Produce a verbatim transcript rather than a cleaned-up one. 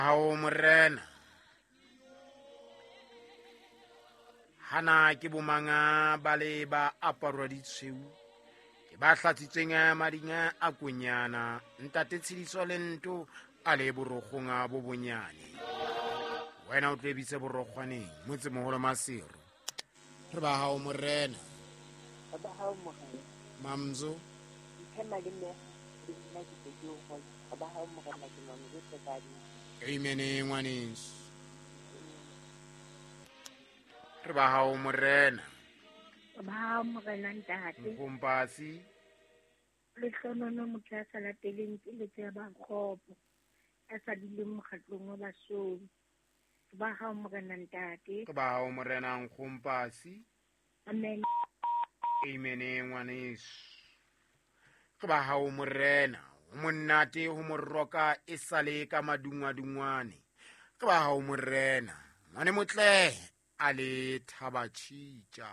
Hao morena. Hana ke bomanga ba le ba aparwa ditshweu. Ke ba hlatsitsweng mading a konyana. Ntate Tshidiso le nto a le borokgong a bo bonyane. Wena o tle bitse borokgwaneng motsemoholo Maseru. Re ba hao morena. Re ba hao morena. Mamzo. Nthema le mme le nna ke tse ke o role. Re ba hao morena ke Mamzo Sekadi. Amen ngwaneso. Re ba hao morena. Re ba hao morena ntate. Nkompasi. Lehlonono motho ya sa lateleng keletso ya ba kgopo, a sa duleng mokgatlong wa basomi. Re ba hao morena ntate. Re ba hao morena Nkompasi. Amen. Amen ngwaneso. Re ba hao morena. O monate ho moroka e sale ka madungwadungwane. Re ba hao morena. Ngwane motle a le thaba tjhitja.